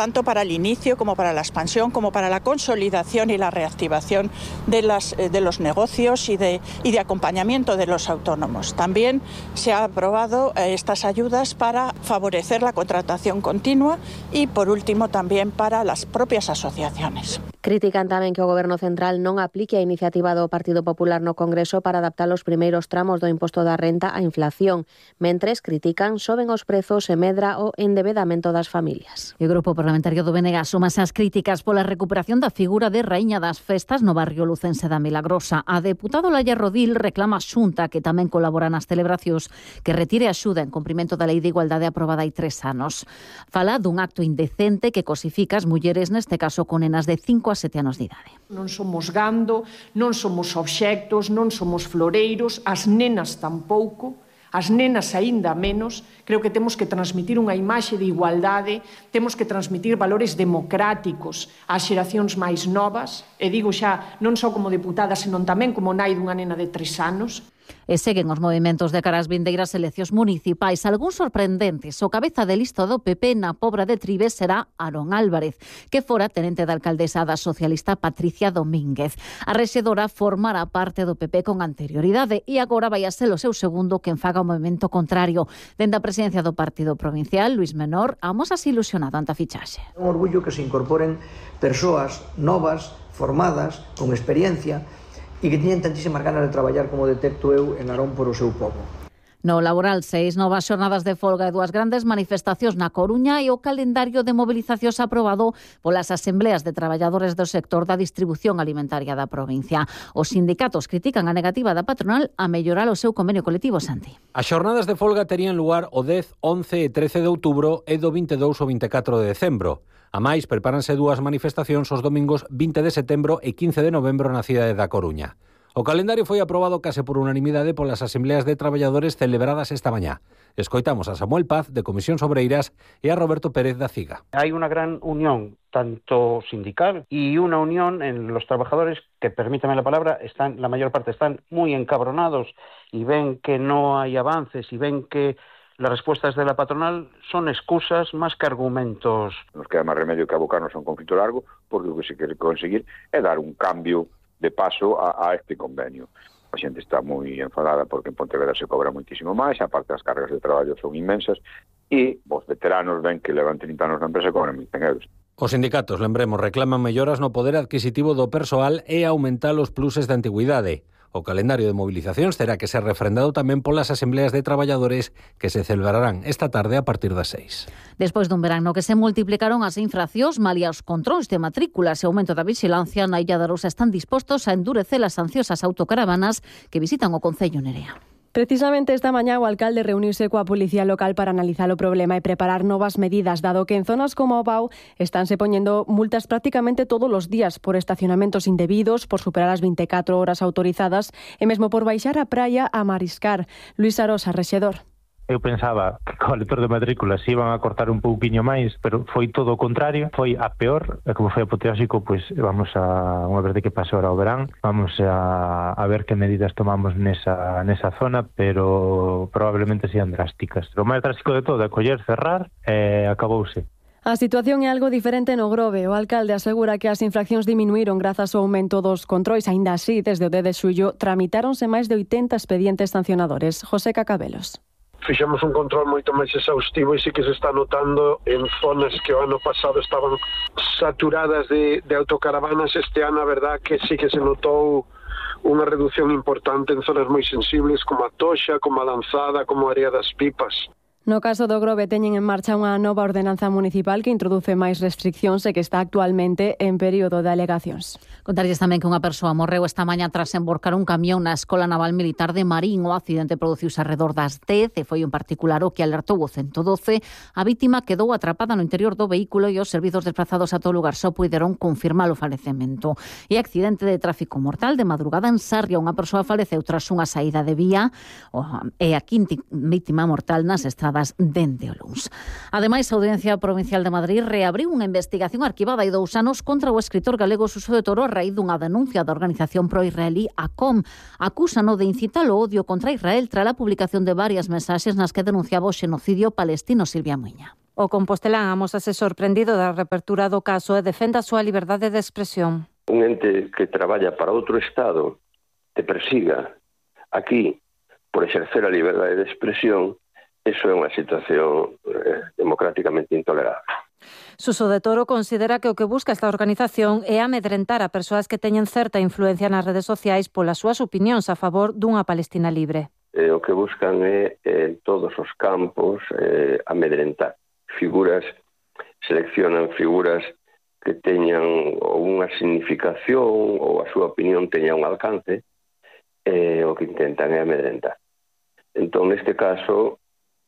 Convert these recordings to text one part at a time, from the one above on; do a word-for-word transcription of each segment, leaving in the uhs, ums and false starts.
tanto para el inicio como para la expansión, como para la consolidación y la reactivación de, las, de los negocios y de, y de acompañamiento de los autónomos. También se ha aprobado estas ayudas para favorecer la contratación continua y, por último, también para las propias asociaciones. Critican tamén que o Goberno Central non aplique a iniciativa do Partido Popular no Congreso para adaptar os primeiros tramos do imposto da renta á inflación. Mentres critican soben os prezos e medra o endebedamento das familias. O Grupo Parlamentario do B N G súmase ás críticas pola recuperación da figura de Raíña das Festas no barrio lucense da Milagrosa. A deputado Laia Rodil reclama a Xunta, que tamén colabora nas celebracións, que retire a axuda en cumprimento da Lei de Igualdade aprobada hai tres anos. Fala dun acto indecente que cosifica as mulleres, neste caso con nenas de cinco a sete anos de idade. Non somos gando, non somos obxectos, non somos floreiros, as nenas tampouco, as nenas aínda menos. Creo que temos que transmitir unha imaxe de igualdade, temos que transmitir valores democráticos ás xeracións máis novas, e digo xa non só como deputada, senón tamén como nai dunha nena de tres anos. E seguen os movimentos de cara ás vindeiras eleccións municipais, algúns sorprendentes. O cabeza de lista do P P na Pobra de Trives será Aarón Álvarez, que fora tenente da alcaldesa da socialista Patricia Domínguez. A rexedora formará parte do P P con anterioridade e agora vai a ser o seu segundo quen faga o movimento contrario. Dende a presidencia do Partido Provincial, Luís Menor, amosas ilusionado ante a fichaxe. É un orgullo que se incorporen persoas novas, formadas, con experiencia, e que tiñen tantísimas ganas de traballar como detecto eu en Narón por o seu pobo. No laboral, seis novas xornadas de folga e dúas grandes manifestacións na Coruña e o calendario de mobilizacións aprobado polas asembleas de traballadores do sector da distribución alimentaria da provincia. Os sindicatos critican a negativa da patronal a mellorar o seu convenio colectivo, Santi. As xornadas de folga terían lugar o dez, once e trece de outubro e do vinte e dous ao vinte e catro de decembro. A máis, prepáranse dúas manifestacións os domingos vinte de setembro e quince de novembro na cidade da Coruña. O calendario foi aprobado case por unanimidade polas asembleas de traballadores celebradas esta mañá. Escoitamos a Samuel Paz, de Comisións Obreiras, e a Roberto Pérez, da CIGA. Hay una gran unión, tanto sindical, y una unión en los trabajadores que, permítame la palabra, están, la mayor parte están muy encabronados y ven que no hay avances y ven que las respuestas de la patronal son excusas más que argumentos. Nos queda máis remedio que abocarnos a un conflito largo, porque o que se quere conseguir é dar un cambio de paso a, a este convenio. A xente está moi enfadada porque en Pontevedra se cobra moitísimo máis, aparte as cargas de traballo son inmensas, e os veteranos ven que levan trinta anos na empresa e cobran mil cen euros. Os sindicatos, lembremos, reclaman melloras no poder adquisitivo do persoal e aumentar os pluses de antigüidade. O calendario de movilizacións terá que ser refrendado tamén polas asembleas de traballadores que se celebrarán esta tarde a partir das seis. Despois dun verano que se multiplicaron as infraccións, malia os controis de matrículas e aumento da vixilancia, na Illa da Arousa están dispostos a endurecer as sancións ás autocaravanas que visitan o concello, Nerea. Precisamente esta mañá o alcalde reuniuse coa policía local para analizar o problema e preparar novas medidas, dado que en zonas como o Pau estánse poñendo multas prácticamente todos os días por estacionamentos indebidos, por superar as vinte e catro horas autorizadas e mesmo por baixar a praia a mariscar. Luís Arosa, rexedor. Eu pensaba que co lector de matrícula se iban a cortar un pouquiño máis, pero foi todo o contrario, foi a peor, e como foi apoteósico, pois vamos a, unha vez de que pasou ahora o verán, vamos a, a ver que medidas tomamos nesa, nesa zona, pero probablemente sean drásticas. O máis drástico de todo é coller, cerrar e acabouse. A situación é algo diferente no Grove. O alcalde asegura que as infraccións diminuíron grazas ao aumento dos controis. Aínda así, desde o dez de xullo, tramitáronse máis de oitenta expedientes sancionadores. José Cacabelos. Fixemos un control moito máis exhaustivo e sí que se está notando en zonas que o ano pasado estaban saturadas de, de autocaravanas. Este ano, a verdad, que sí que se notou unha reducción importante en zonas moi sensibles como a Toxa, como a Lanzada, como a Area das Pipas. No caso do Grove teñen en marcha unha nova ordenanza municipal que introduce máis restriccións e que está actualmente en período de alegacións. Contarlles tamén que unha persoa morreu esta mañá tras emborcar un camión na Escola Naval Militar de Marín. O accidente produciuse alrededor das dez e foi un particular o que alertou o ciento doce. A vítima quedou atrapada no interior do vehículo e os servizos desplazados a todo lugar só puideron confirmar o falecemento. E accidente de tráfico mortal de madrugada en Sarria. Unha persoa faleceu tras unha saída de vía e a quinta vítima mortal nas estradas realizadas dende o luns. Ademais, a Audiencia Provincial de Madrid reabriu unha investigación arquivada hai dous anos contra o escritor galego Suso de Toro a raíz dunha denuncia da organización pro-israelí A C O M. Acúsano de incitar o odio contra Israel tras a publicación de varias mensaxes nas que denunciaba o xenocidio palestino. Silvia Muiña. O compostelán amósase sorprendido da reapertura do caso e defende a súa liberdade de expresión. Un ente que traballa para outro Estado te persiga aquí por exercer a liberdade de expresión, eso é unha situación eh, democráticamente intolerable. Suso de Toro considera que o que busca esta organización é amedrentar a persoas que teñen certa influencia nas redes sociais polas súas opinións a favor dunha Palestina libre. Eh, o que buscan é en todos os campos eh, amedrentar figuras, seleccionan figuras que teñan unha significación ou a súa opinión teña un alcance, eh, o que intentan é amedrentar. Entón, neste caso,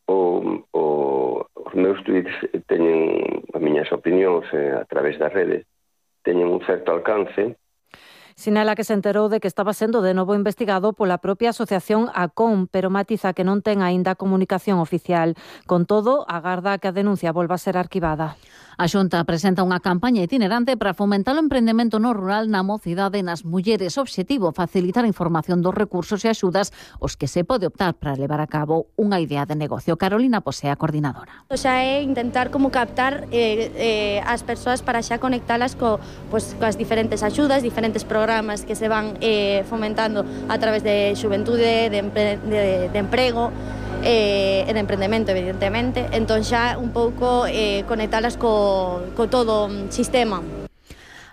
o, o, os meus tweets teñen as miñas opinións eh, a través das redes, teñen un certo alcance. Sinala que se enterou de que estaba sendo de novo investigado pola propia asociación A C O M, pero matiza que non ten aínda comunicación oficial. Con todo, agarda que a denuncia volva a ser arquivada. A Xunta presenta unha campaña itinerante para fomentar o emprendemento no rural na mocidade e nas mulleres. Obxectivo, facilitar a información dos recursos e axudas os que se pode optar para levar a cabo unha idea de negocio. Carolina Posea, coordinadora. O sea, é intentar como captar eh, eh, as persoas para xa conectalas co, pues, coas diferentes axudas, diferentes programas que se van eh, fomentando a través de xuventude, de, empre, de, de emprego, e de emprendemento, evidentemente. Entón xa un pouco eh, conectalas co, co todo o sistema.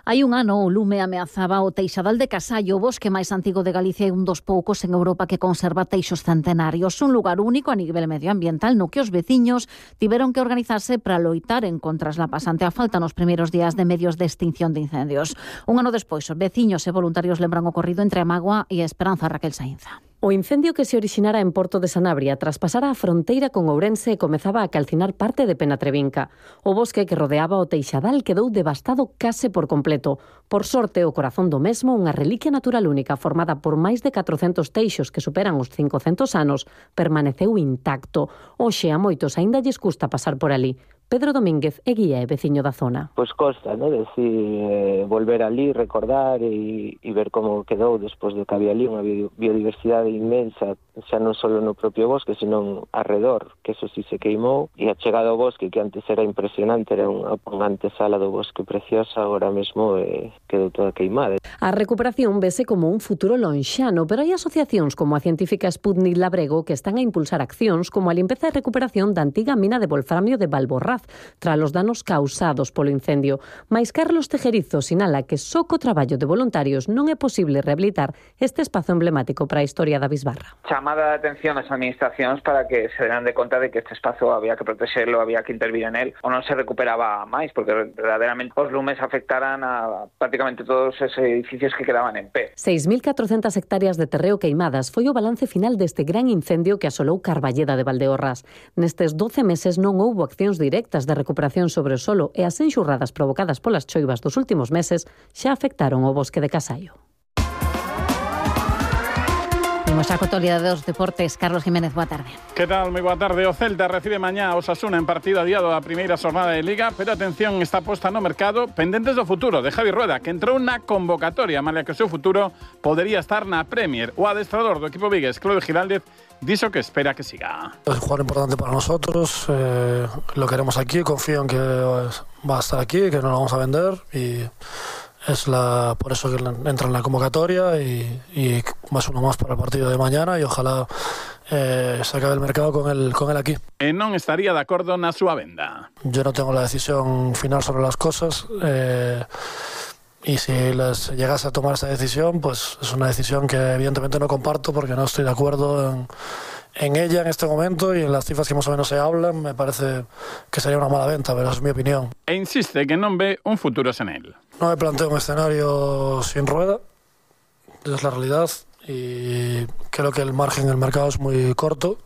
Hai un ano o lume ameazaba o Teixadal de Casallo, o bosque máis antigo de Galicia e un dos poucos en Europa que conserva teixos centenarios. Un lugar único a nivel medioambiental no que os veciños tiveron que organizarse para loitar en contras la pasante a falta nos primeiros días de medios de extinción de incendios. Un ano despois, os veciños e voluntarios lembran o ocorrido entre a Magua e a Esperanza. Raquel Sainza. O incendio que se orixinara en Porto de Sanabria traspasara a fronteira con Ourense e comezaba a calcinar parte de Penatrevinca. O bosque que rodeaba o Teixadal quedou devastado case por completo. Por sorte, o corazón do mesmo, unha reliquia natural única formada por máis de catrocentos teixos que superan os cincocentos anos, permaneceu intacto. Hoxe a moitos aínda lles custa pasar por ali. Pedro Domínguez é guía e veciño da zona. Pois costa, ¿no? Decir, eh, volver ali, recordar e, e ver como quedou despois de que había ali unha biodiversidade inmensa, xa non só no propio bosque, sino arredor, que eso sí se queimou, e a chegada ao bosque, que antes era impresionante, era unha, unha antesala do bosque preciosa, agora mesmo eh, quedou toda queimada. A recuperación vese como un futuro lonxano, pero hai asociacións como a científica Sputnik Labrego que están a impulsar accións como a limpeza e recuperación da antiga mina de wolframio de Valborraz, tras os danos causados polo incendio. Mais Carlos Tejerizo sinala que só co traballo de voluntarios non é posible rehabilitar este espazo emblemático para a historia da Bisbarra. Chamada a atención das administracións para que se deran de conta de que este espazo había que protexerlo, había que intervir en él, ou non se recuperaba máis, porque verdadeiramente os lumes afectaran a prácticamente todos esos edificios que quedaban en pé. seis mil catrocentas hectáreas de terreo queimadas foi o balance final deste gran incendio que asolou Carballeda de Valdeorras. Nestes doce meses non houbo accións directas de recuperación sobre o solo e as enxurradas provocadas polas choivas dos últimos meses xa afectaron o bosque de Casallo. Imos a actualidade dos deportes. Carlos Jiménez, boa tarde. Que tal? Moi boa tarde. O Celta recibe mañá a Osasuna en partido adiado da primeira xornada de Liga, pero atención, está posta no mercado pendentes do futuro de Javi Rueda, que entrou na convocatoria, malia que o seu futuro podería estar na Premier. O adestrador do equipo vigués, Claudio Giraldez, diso que espera que siga. Es un jugador importante para nosotros, eh, lo queremos aquí, confío en que va a estar aquí, que no lo vamos a vender y es la por eso que entra en la convocatoria y, y más uno más para el partido de mañana y ojalá eh, se acabe el mercado con él, con él aquí. E non estaría de acordo na súa venda. Yo no tengo la decisión final sobre las cosas. Eh, Y si les llegase a tomar esa decisión, pues es una decisión que evidentemente no comparto porque no estoy de acuerdo en, en ella en este momento y en las cifras que más o menos se hablan. Me parece que sería una mala venta, pero es mi opinión. E insiste que non ve un futuro sen él. No me planteo un escenario sin Rueda, es la realidad y creo que el margen en el mercado es muy corto.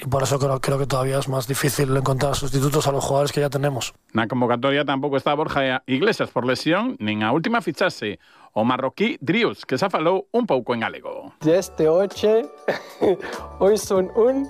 Y por eso creo, creo que todavía es más difícil encontrar sustitutos a los jugadores que ya tenemos. Na convocatoria tampouco está Borja Iglesias por lesión, nin a última fichaxe. o marroquí Drius, que xa falou un pouco en galego. Este oche, hoy son un...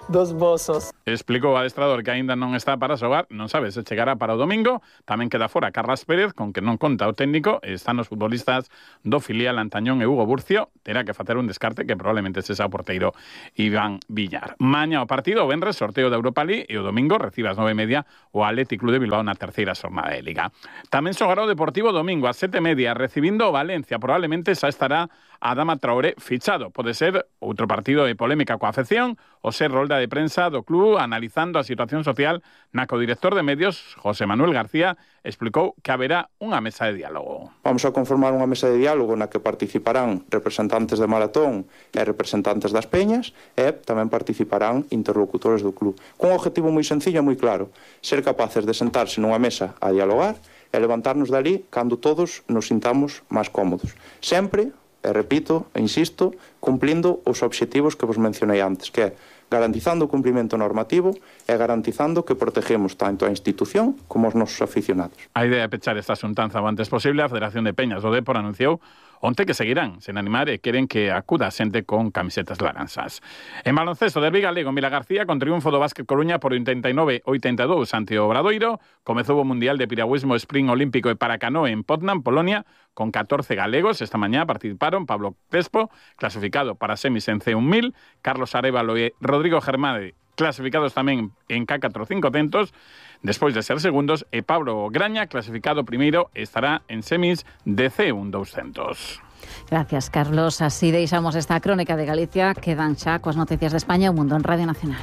dos bozos. Explicou o adestrador que aínda non está para xogar, non sabe se chegará para o domingo. Tamén queda fora Carlas Pérez, con que non conta o técnico, e están os futbolistas do filial Antañón e Hugo Burcio. Terá que facer un descarte que probablemente sexa o porteiro Iván Villar. Maña o partido, o venres, sorteo da Europa League, e o domingo recibe ás nove e media o Athletic Club de Bilbao na terceira xornada de Liga. Tamén xogará o Deportivo domingo ás sete e media, recibindo o Valencia. Probablemente xa estará Adama Traoré fichado. Pode ser outro partido de polémica coa afección, o ser rolda de prensa do club analizando a situación social na que o director de medios, José Manuel García, explicou que haberá unha mesa de diálogo. Vamos a conformar unha mesa de diálogo na que participarán representantes de Maratón e representantes das Peñas e tamén participarán interlocutores do club. Cun objetivo moi sencillo e moi claro, ser capaces de sentarse nunha mesa a dialogar e levantarnos dali cando todos nos sintamos máis cómodos. Sempre, e repito, e insisto, cumplindo os obxectivos que vos mencionei antes, que é garantizando o cumprimento normativo e garantizando que protegemos tanto a institución como os nosos aficionados. A idea de pechar esta xuntanza o antes posible, a Federación de Peñas do Depor anunciou onte que seguirán sen animar e queren que acuda a xente con camisetas laranxas. En baloncesto, derbi galego, Mila García con triunfo do Básquet Coruña por oitenta e nove a oitenta e dous ante o Obradoiro. Comezou o Mundial de Piragüismo Sprint Olímpico e Paracanoe en Poznan, Polonia, con catorce galegos. Esta mañá participaron Pablo Crespo, clasificado para semis en C mil, Carlos Arévalo e Rodrigo Germade, clasificados tamén en K cuatrocientos, despois de ser segundos, e Pablo Graña, clasificado primeiro, estará en semis de C doscientos. Gracias, Carlos. Así deixamos esta crónica de Galicia. Quedan xa coas noticias de España e o mundo en Radio Nacional.